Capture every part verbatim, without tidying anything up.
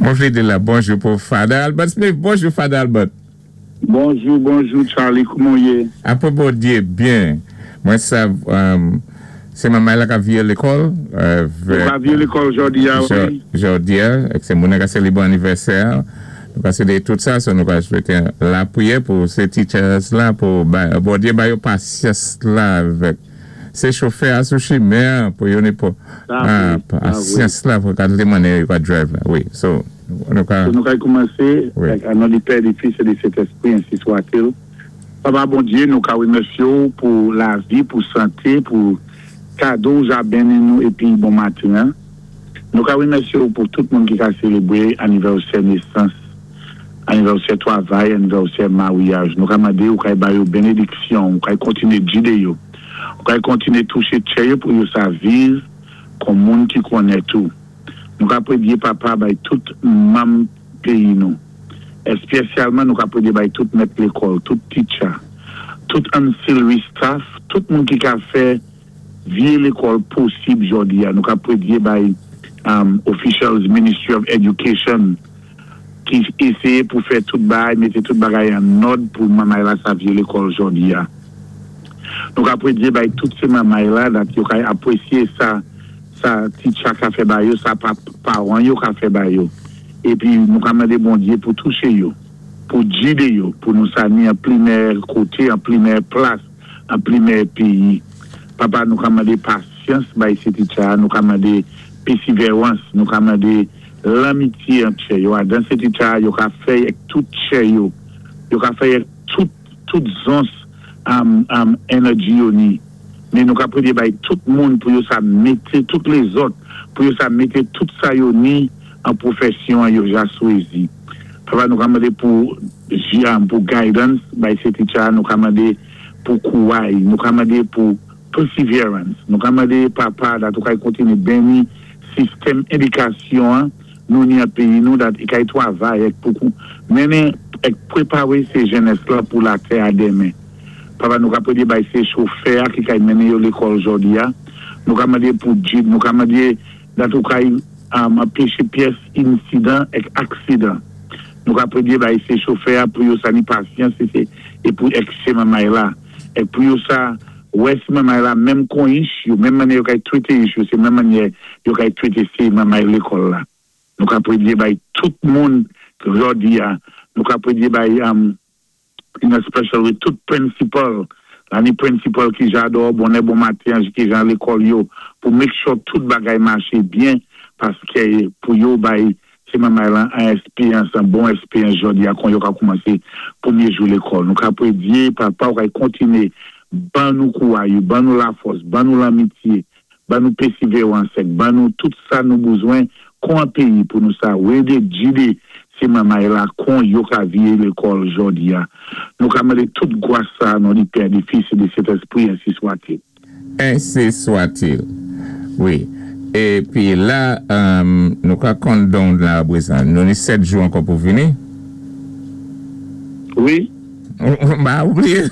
Mwen vlé di la bonjou pou Father Albert Smith. Bonjou, Father Albert. Bonjou, bonjou, Charlie, kouman ou yé? Apwé Bondyé, byen. Mwen sav, um, sé manmay la ka viyé lékòl. Euh, Ka viyé lékòl jòdi a, wi. Jòdi a, èk sé moun ka sélébwé anivèsè. Nou ka sélébré tout sa, so nou ka swété lapriyè pou sé teachers la, pou Bondyé ba yo pasyans la avèk sé chofè a sou chimen pou yo ni pou pasyans la pou ka mannyè yo ka drive la. Wi, so nou ka Nou ka koumansé, an non di Pè, di Fis é di Sentèspwi, ensi swa-t-il. Papa Bondyé, nou ka wimèsyé ou pou lavi, pou santé, pou kado ou ja benni nou épi bon maten. Nou ka wimèsyé ou pou tout moun ki ka sélébwé anivèsè nésans, anivèsè twavay, anivèsè maryaj. Nou ka mandé ou ka ba yo bénédiksyon, ou ka kontiné gidé yo, ou ka kontiné touché tchè yo pou yo sa viv kon moun ki konnèt ou. Nou ka prédyé, Papa, bay tout manm péyi nou. Espésyalman nou ka prédyé bay tout mèt lékòl, tout teacher, tout ancillary staff, tout moun ki ka fè viyé lékòl posib jòdi a. Nou ka prédyé bay um, officials Ministry of Education ki éséyé pou fè tout bagay, mété tout bagay an òd pou manmay la sa viyé lékòl jòdi a. Nou ka prédyé bay tout sé manmay la dat yo ka apwésyé sa sa teacher ka fè ba yo, sa pawan yo ka fè ba yo. Épi nou ka mandé Bondyé pou touché yo, pou gidé yo, pou nou sa ni an pli mèyè koté, an pli mèyè plas, an pli mèyè péyi. Papa, nou ka mandé pasyans bay sé teacher, nou ka mandé pèsévérans, nou ka mandé lanmityé ant yo. Dan sé teacher, yo ka fè tout tchè yo, yo ka fè tout tout zons um, um, energy yo ni. Men nou ka prédyé bay tout moun pou yo sa mété, tout lézòt, pou yo sa mété tout sa yo ni an pwofèsyon yo ja swézi. Papa, nou ka mandé pou pou guidance bay sé teacher, nou ka mandé pou kouway, nou ka mandé pou perseverance, nou ka mandé, Papa, dat ou kay kontiné benni sistèm édikasyon nou ni an péyi nou, dat i kay twavay èk pou mennen èk pwépawé sé jènès la pou latè a denmen. Papa, nou ka prédyé bay sé chofè ki kay mennen yo lékòl jòdi a, nou ka mandé pou gid, nou ka mandé dat ou kay anpéché pyès insidan èk aksidan. Nou ka prédyé bay sé chofè pou yo sa ni pasyans é pou èk sé manmay la. É pou yo sa wè si manmay la menm kon ich yo, menm mannyè yo kay twété ich yo, sé menm mannyè yo kay twété sé manmay lékòl la. Nou ka prédyé bay tout moun jòdi a, nou ka prédyé bay in a special way tout principal, la ni principal ki jadò, bonè bon maten, ki jan lékòl yo, pou make sure tout bagay maché byen, paské pou yo bay sé manmay lan an espéyans, an bon espéyans jòdi a kon yo ka koumansé pwémyé jou lékòl. Nou ka prédyé, Papa, ou kay kontiné ban nou kouway, ban nou lafòs, ban nou lanmityé, ban nou pèsévérans, ban nou tout sa nou bezwen kon an péyi pou nou sa wédé gidé sé manmay la kon yo ka viyé lékòl jòdi a. Nou ka mandé tout gwas sa nan di Pè, di Fis, di Sentèspwi, ensi swa-t-il. Ensi swa-t-il. Wi. Épi la, nou ka countdown la apwé sa. Nou ni sèt jou ankò pou vini? Wi. Ba, oubliyé.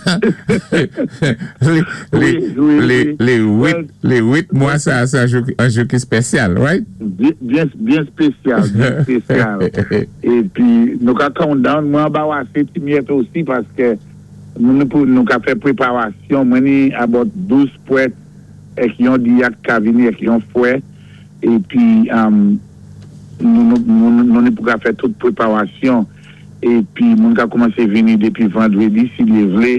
Lé wit mwa sa, sa an jou ki spésyal, right? Byen spésyal, byen spésyal. Épi nou ka countdown, mwen ba wase ti myèt osi paské nou ka fè pwépawasyon, mwen ni about douz pwèt èk yon dyak ka vini èk yon fwè, épi nou ni pou ka fè tout pwépawasyon, épi moun ka koumansé vini dépi vandwédi, si li vlé.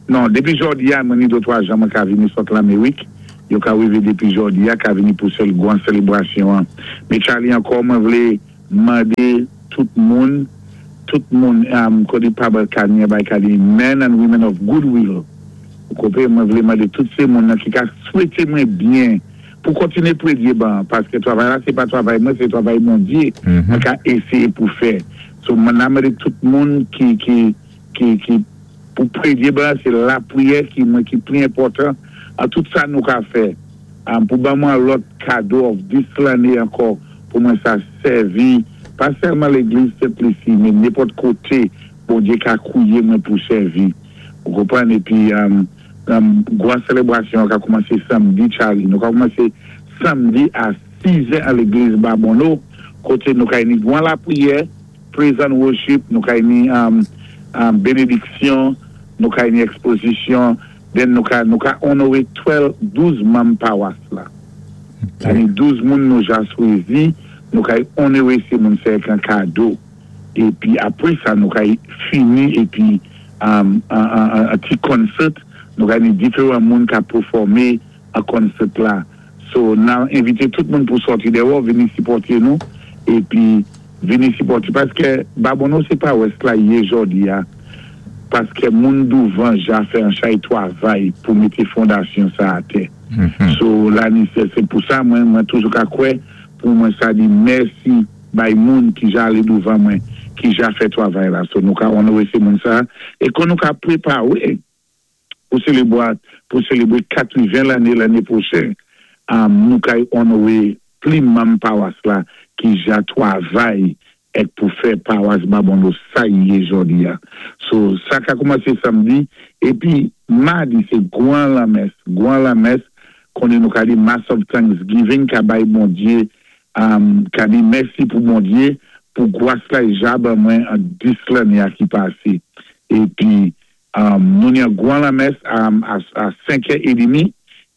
Non, dépi jòdi a, mwen ni dé twa jan mwen ka vini sot Lamérik, yo ka wivé dépi jòdi a, ka vini pou sèl gwan sélébrasyon an. Mé Charlie, ankò mwen vlé mandé tout moun, tout moun kodi pabal kanyen bay kadi men and women of goodwill. Kòpé, mwen vlé mandé tout sé moun nan ki ka swété mwen byen pou kontiné pwédyé ban, paské twavay la, sé pa twavay mwen, sé twavay Bondyé, mwen ka éséyé pou fè. So mwen a mandé tout moun ki ki ki ki pou pwédyé ban, sé lapriyè ki mwen ki pli enpòtan an tout sa nou ka fè. Pou ban mwen lòt kado of dis lanné ankò pou mwen sa sèvi, pa sèlman légliz Sent Lisi, men nenpòt koté Bondyé ka kouwiyé mwen pou sèvi. Ou konpwann, épi gwan sélébrasyon ka koumansé samdi, Charlie. Nou ka koumansé samdi a sis è a légliz Babonneau, Koté nou kay ni gwan lapriyè, praise and worship, nou kay ni um, um, bénédiksyon, nou kay ni ekspozisyon, then nou ka, nou ka onoré douz, douz manm pawas la. Ok. Ni douz moun nou ja chwazi, nou kay onoré sé moun sé ak an kado. Épi apwé sa, nou kay fini épi um, an, an, an, an ti concert, nou kay ni diféwan moun ka pèfòmé an concert la. So, nan envité tout moun pou sòti déwò, vini sipòté nou, épi vini sipòté, paské Babonneau sé pa wès la yé jòdi a, paské moun douvan ja fè an chay twavay pou mété fondasyon sa atè. Mhm. So, la ni sé sé pou sa mwen, mwen toujou ka kwè, pou mwen sa di mèsi bay moun ki ja alé douvan mwen, ki ja fè twavay la. So, nou ka onoré sé moun sa, é kon nou ka préparé pou sélébwé, pou sélébwé katreven lanné lanné pwochen, um, nou kay onoré pli manm pawas la ki ja twavay èk pou fè pawas Babonneau sa yé jòdi a. So, sa ka koumansé samdi, épi madi sé gwan lamès, gwan lamès, konnen nou ka di Mass of Thanksgiving ka bay Bondyé, um, ka di mèsi pou Bondyé, pou gwas la i ja ban mwen an dis lanné a ki pasé. Épi, um, nou ni an gwan lamès um, a, a senk è édmi,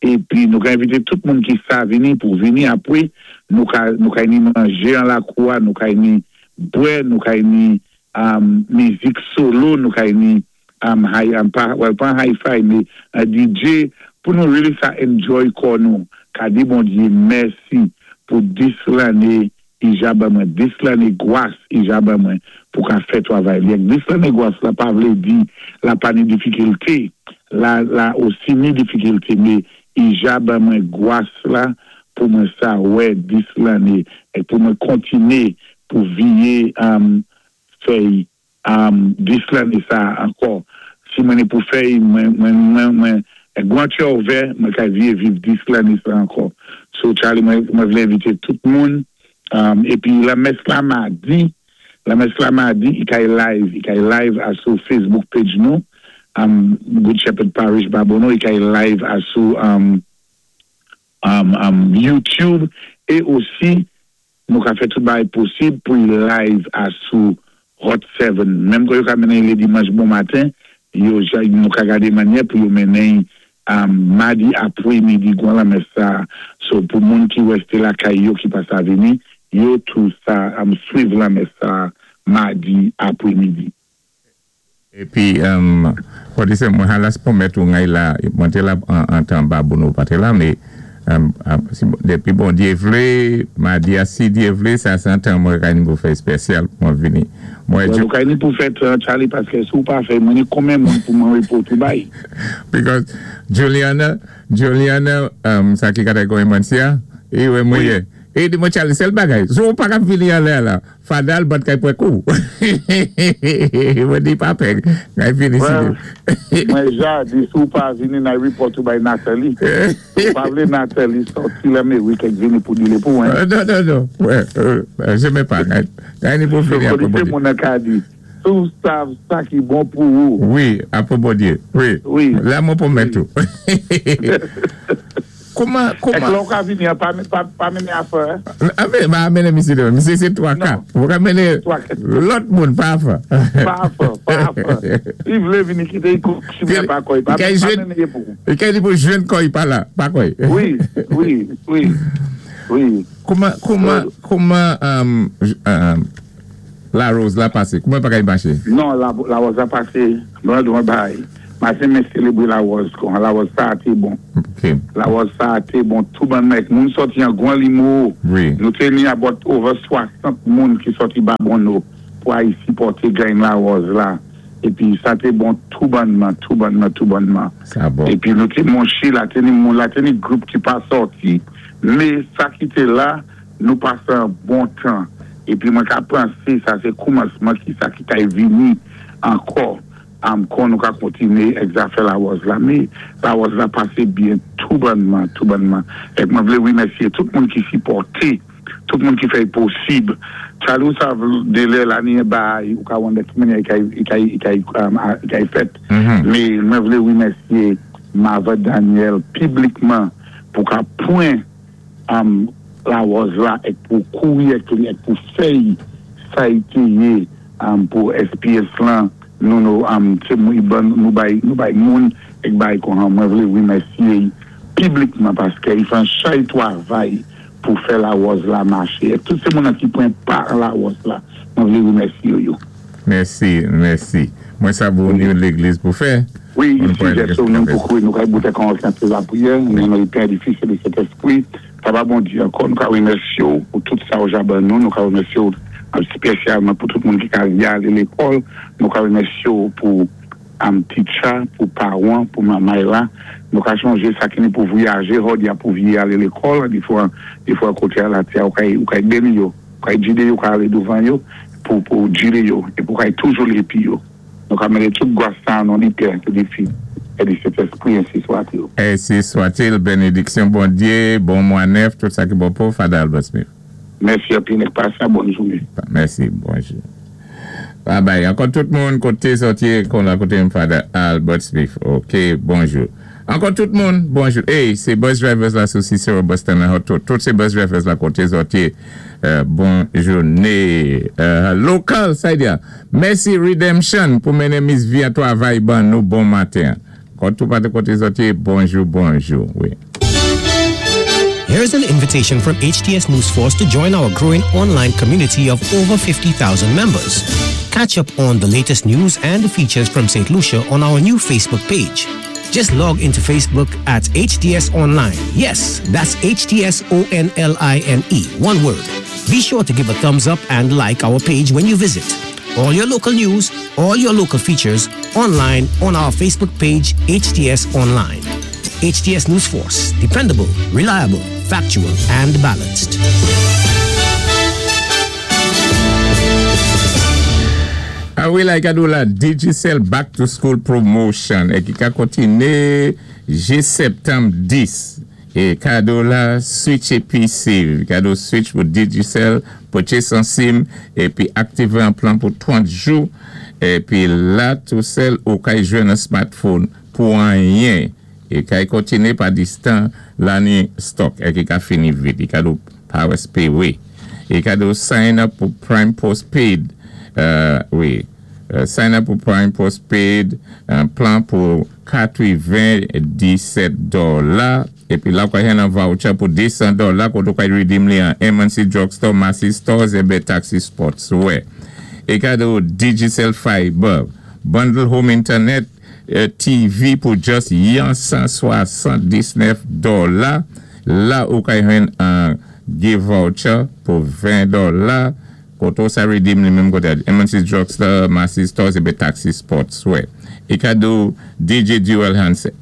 épi nou ka envité tout moun ki sa vini pou vini apwé, nou ka, nou ka ni manjé an lakou a, nou ka ni bwè, nou ka ni um, mizik solo, nou ka ni um, high, um, pa, well, pa hi-fi, mé uh, D J, pou nou really sa enjoy kò nou, ka di Bondyé mèsi pou dis lanné i ja ban mwen, dis lanné gwas i ja ban mwen pou ka fè twavay. Li dis lanné gwas la pa vlé di la pa ni difikilté, la, la osi ni difikilté, mé i ja ban mwen gwas la pou mwen sa wè dis lanné, é pou mwen kontiné pou viyé um, fè um, dis lanné sa ankò. Si mwen ni pou fè, mwen, mwen, mwen, mwen, gwan kè ouvè, mwen ka viyé viv dis lanné sa ankò. So Charlie, mwen, mwen vlé envité tout moun, um, épi lamès la madi, lamès la madi, i kay live, i kay live asou Facebook page nou, um, Good Shepherd Parish Babonneau, i kay live asou um, um, um, YouTube, é osi nou ka fè tout bagay posib pou i live asou Hot sept. Menm kon yo ka mennen lé dimanch bon maten, yo, ja- nou ka gadé mannyè pou yo mennen um, madi apwémidi gwan lamès sa. So pou moun ki wèsté lakay yo ki pa sa vini, yo tou sa um, swiv lamès sa madi apwémidi. Épi, um, kwa di sé mwen halas pwomèt ou ngay la, mwen té la an, an tan Babonneau pa té la, mé um, um, si, dépi Bondyé vlé, madi a si Dyé vlé, sa sé an tan mwen kay ni pou fè espésyal pou mwen vini. Mwen Well, nou kay ni pou fèt, uh, Charlie, paské sou pa fè, mwen ni konmen moun pou mwen report ou bay. Because Juliana, Juliana, um, sa ki kata goy mwen siya, e wè mwen ye. E di mwen Charlie, sèl bagay, sou pa ka vini an lè la, fadal bat kay pwè kou. Mwen di pa pè, kay vini si Well, di. Mwen ja di sou pa vini nan report ou bay Nathalie. Sou pa vlé Nathalie sòti la mé wik ek vini pou dile pou mwen. Euh, Non, non, non, ouais, euh, je mè pa, kay, kay ni pou So, vini apre konité Bondyé. moun an ka di, sou sav sa ki bon pou ou. Wi, apre Bondyé, wi. Wi. La mwen pwomèt ou. Kouman, Ek kouman, lò ka vini, pa, pa, pa mennen afè. Ame, ma amene misi de, misi se twa ka. Non. Mwen ka mene Twa ka. lòt moun pa afè. Pa afè, pa afè. I vlé vini kité i kou chimè pa koy. Pa, Kay pa jwen- mennen ye pou. E kay di pou jwen koy pa la, pa koy. Wi, wi, wi, wi. Kouman, kouman, kouman, um, um, Larose la pasé? Kouman pa kay maché? Non, la, Larose a pasé, mwen dwa bay. Masen men selebre Larose, kon Larose sa a té bon. Ok, Larose sa a té bon, tou ban mèk. Moun sòti an gwan limo. wi. Nou té ni about over swasant moun ki sòti Babonneau pou ay sipòté gany Larose la. Épi sa té bon tou bannman, tou bannman, tou bannman. Sa bon. Épi nou té monché la té ni moun, la té ni gwoup ki pa sòti. Mé sa ki té la, nou pasé an bon tan. Épi mwen ka pansé sa sé koumansman ki sa ki kay vini ankò. Am kon nou ka kontiné ek zafè Larose la. Mé Larose la pasé byen tou bannman, tou bannman. Ek mwen vlé wimèsyé tout moun ki sipòté, tout moun ki fè posib. Chalou sa délé la ni bay, ou ka wande ki mennye i kay, i kay, i kay, um, i kay fèt. Mhm. Mé mwen vlé wimèsyé Mava Daniel piblikman pou ka pwen um, Larose la èk pou kouri èk pou fè sa té yé pou SPS lan nou nou nou bay nou bay moun èk bay kon mwen vlé wimèsyé piblikman paské i fè an chay twavay pou fè Larose la maché. Tout sé moun ki pwan pa Larose la, mwen vlé wimèsyé yo. Mèsi, mèsi. Mwen sa pou nou légliz pou fè. Wi, isi jè sou nou pou kou nou kay boutè kon an la priyè, nou nan Pè, di Fis é di Sentespwi, Papa Bondyé, ankò nou ka wimèsyé ou pou tout sa ou ja ban nou, nou ka wimèsyé ou spésyalman pou tout moun ki ka alé lékòl, nou ka wimèsyé ou pou am teacher, pou pawan, pou mamay la, nou ka chonjé sa ki ni pou vwayajé, hod ya pou vye alé lékòl, di fwa, di fwa koté a la tè, ou kay, ou kay béni yo, ou kay jidé yo, ka alé douvan yo, pou, pou jidé yo, é pou kay toujou lépi yo. Nou ka mété tout gwas sa nan di Pè, di Fis, é di Sentespwi, ensi swa-t-il. Ensi swa-t-il, bénédiksyon Bondyé, bon mwa nèf, tout sa ki bon pou Father Albert Smith. Mèsi anpil, pasé bòn jouné. Mèsi, bonjou. Bye bye. Ankò tout moun koté sòti kon la koté Father Albert Smith. Ok, bonjou. Ankò tout moun, bonjou. Hey, sé bus drivers la sou Cicero Bus Terminal tout, tout sé bus drivers la koté sòti. Euh, bon jouné. Euh, lokal, sa di. Mèsi Redemption pou mennen Miss V an twavay ban nou bon maten. Kon tout pa de koté sòti, bonjou, bonjou. Wi. Here's an invitation from HTS News Force to join our growing online community of over fifty thousand members. Catch up on the latest news and features from St. Lucia on our new Facebook page. Just log into Facebook at HTS Online. Yes, that's H T S O N L I N E, one word. Be sure to give a thumbs up and like our page when you visit. All your local news, all your local features, online on our Facebook page, H T S Online. H T S News Force, dependable, reliable, factual, and balanced. Ah wi, la, kado la Digicel Back to School Promotion é ki ka kontiné jis septanm dis. É kado la Switch P C, kado Switch pou Digicel, purchase an SIM épi aktivé an plan pou trant jou. Épi la tou sèl ou kay jwenn an smartphone pou anyen. É kay kontiné pa distan la ni stock é ki ka fini vit. É kado Power Pay, wi. É kado sign up pou Prime Postpaid. Euh, wi. Euh, sign up pou Prime Postpaid, un plan pou katreven-disèt dola. Épi la, ou gen an voucher pou de san dola, koté ou ka redeem li an M and C Drugstore, Massy Stores é Taxi Sportswear. É kado Digicel Fiber, bundle home internet, euh, T V pou just yon san swasanndisnèf dola. La, ou ka jwenn an gift voucher pou ven dola. Koté sa redeem li menm koté M and C Drugstore, Massy Stores é Taxi Sportswear. É kado D J Dual Handset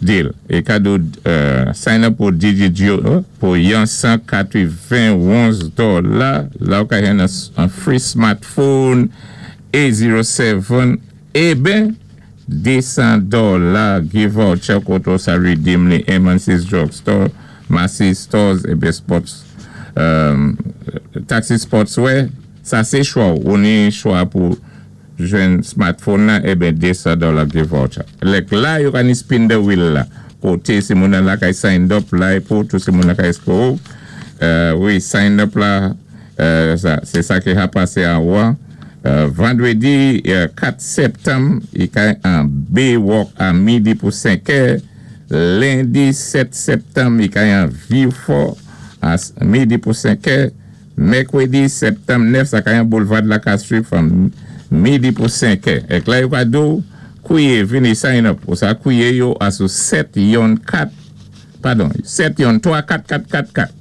Deal. É kado, euh, sign up pou D J Dual pou yon san katreven-onz dola. La ou ka jwenn an free smartphone A zero seven é ben de san dola gift voucher koté sa redeem li M and C Drugstore, Massy Stores é ben Sports. Euh, Taxi Sportswear, sa sé chwa, ou ni chwa pou jwenn smartphone la, é ben de san dola gift voucher. Lèk la, yo ka ni spin the wheel la. Koté si moun nan la kay signed up la, pou tout si moun nan kay score. Euh, wi, signed up la, euh, sa, sé sa ki a pasé an wa. Euh, vandrédi, euh, kat septanm, i kay an Baywalk a midi pou senk è. Lendi sèt septanm, i kay an Vieux-Fort a midi pou senk è. Mèkwédi septanm nèf, sa kay an Boulevard la Castries from midi pou senk è. Èk la yo ka do, kouye vini sign up. Ou sa kouye yo a sou sèt yon kat, padon, sèt yon twa kat kat kat kat.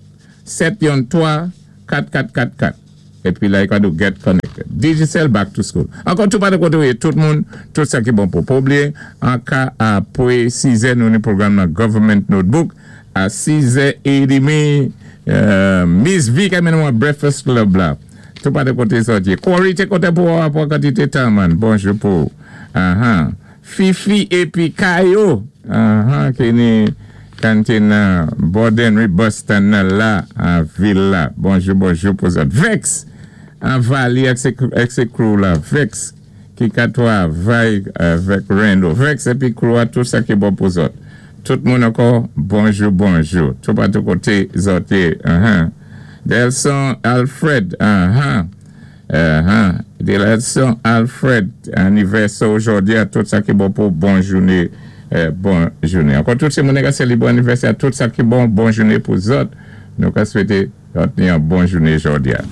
sèt yon twa kat kat kat kat. Épi la, yo ka do get connected. Digicel Back to School. Ankò tout pa de koté, tout moun, tout sa ki bon pou pa oubliyé. An ka apwé sis è, nou ni pwogram nan Government Notebook. A sis è édmi, euh, Miss V ki mennen Breakfast Club la. Tout pa de koté sòti. Corey, té koté pou pou kantité tan, man. Bonjou pou. Uh-huh. Fifi épi Kayo. Uh-huh. Ki ni kantin nan Borden Bus stand nan la, an vil la. Bonjou, bonjou pou sa. Vex, an Valley ak sé, ak sé crew la. Vex, ki ka twavay avèk Rendo. Vex épi crew a tout sa ki bon pou zòt. Tout moun ankò, bonjou, bonjou. Tout patou koté zòt yé. Uh-huh. Delson Alfred, uh-huh. Uh-huh. Delson Alfred, anivèsè jòdi-a, tout sa ki bon pou bon jouné, euh, bon jouné. Ankò tout sé moun ki sélébré anivèsè, tout sa ki bon, bon jouné pou zòt. Nou ka swété zòt ni yon bon jouné jòdi-a.